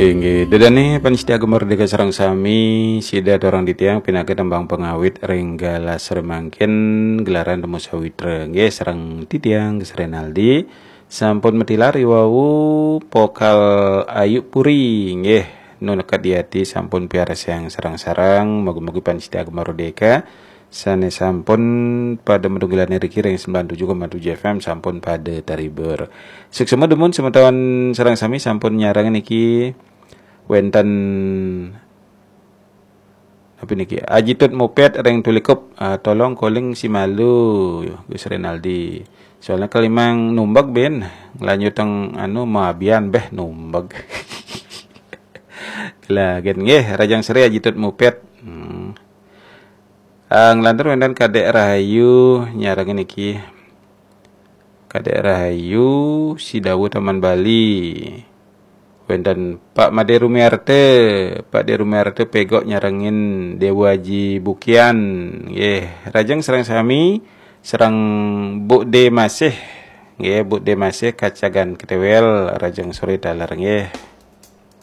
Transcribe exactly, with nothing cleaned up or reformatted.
Inggih, ida dané pamiarsa Gema Merdeka sareng sami, sida aturang titiang pinaka tembang pangawit ring galah sore mangkin, gelaran Temu Sawitra. Nggih, sareng titiang Gus Renaldi sampun matilar i wau vokal Ayu Puri, nggih, Nu Neked di Ati sampun piarsayang sareng-sareng, mugi-mugi pamiarsa Gema Merdeka sané sampun pada madunggilané riki ring sembilan tujuh koma tujuh F M sampun pada terhibur. Suksma dumun semeton sareng sami sampun nyarengin niki, wénten apa niki? Aji Tut Mupet ring Tulikup. Ah, tolong calling si Malu, Gus Renaldi. Soalnya kalimang numbeg bin, nglanjutang anu mabian béh numbeg. Lah, gén nggih, rahajeng sore Aji Tut Mupet. Hmm. Ah, nglantur wénten Kadék Rahayu nyarengin niki. Kadék Rahayu, Sidawu Taman Bali. Wénten Pak Madé Rumiarta, Pak Dé Rumiarta pégok nyarengin Déwa Aji Bukian. Nggih, rahajeng sareng sami, sareng Bu Dé Masih. Nggih, Bu Dé Masih Kacagan Ketéwél, rahajeng sore taler nggih.